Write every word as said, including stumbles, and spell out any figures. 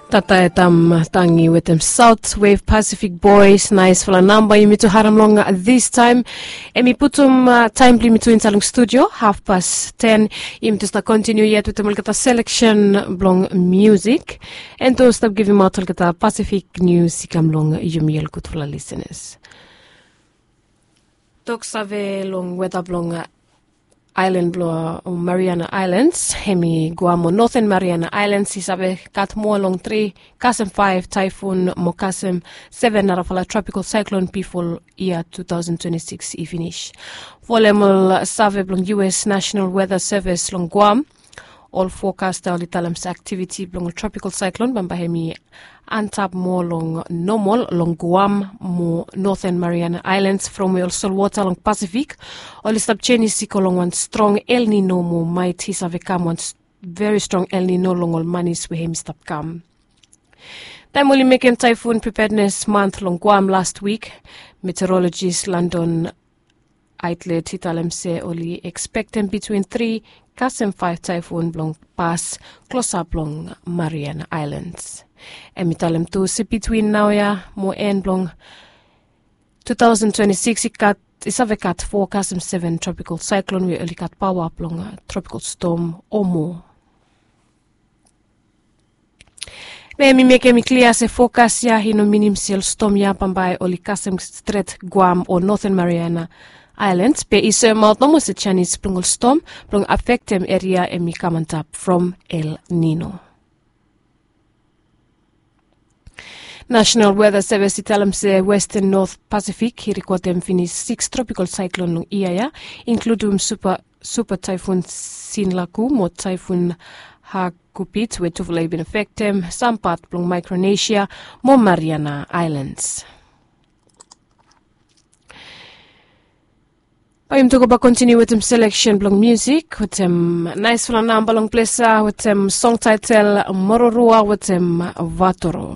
Tata e tam tangi wetem South Wave Pacific Boys, naisfala namba yumi tu harem long this time. Em i putum taem blong yumi tu insaed long studio hafpas ten. Yumi tu stap kontiniu yet wetem olgeta seleksen blong musik, en tu stap givimaot olgeta Pacific nius i kam long yumi ol gudfala lisenas. Toksave long weta blong aelan blong Mariana Aelans, hem i Guam o Noten Mariana Aelans i save gat moa long tri kasem faef taefun mo kasem seven narafala tropikal saeklon bifo yia tu taosen twenti sikis i finis. Folem ol save blong U S Nasenal Weta Sevis long Guam, ol fokasta oli talem se aktiviti blong ol tropikal saeklon bambae hem i antap moa long nomol long Guam mo Noten Mariana Aelans from we ol solwota long Pasifik oli stap jenis i go long wan strong El Nino mo maet i save kam wan veri strong El Nino long ol manis we hem i stap kam. Taem oli mekem taefun pripednes mant long Guam last wik, meteorolojis Landon Aetlet i talem se oli ekspektem bitwin tri kasem faef taefun blong pas klosap long Mariana Aelans. Hem i talem tu se bitwin naoia mo en blong tu taosen twenti sikis i gat i save gat fo kasem seven tropikal saeklon we oli gat paoa blong tropikal stom o moa. Be mi mekem i klia se fokas ya i no minim se ol stom ya bambae oli kasem stret Guam o Noten Mariana Aelans, be i soemaot nomo se janis blong ol stom blong afektem eria hem i kam antap from El Nino. Nasenal Weta Sevis i talem se Westen Not Pasifik i rikodem finis siks tropikal saeklon long yia ya, inkludum supa supa taefun Sinlaku mo taefun Hagupit we tufala i bin afektem sam pat blong Maekronesia mo Mariana Aelans. Bae yumi tu go bae kontiniu wetem seleksen blong musik wetem naesfala namba long ples ya wetem song taetel Mororua wetem Vatoro.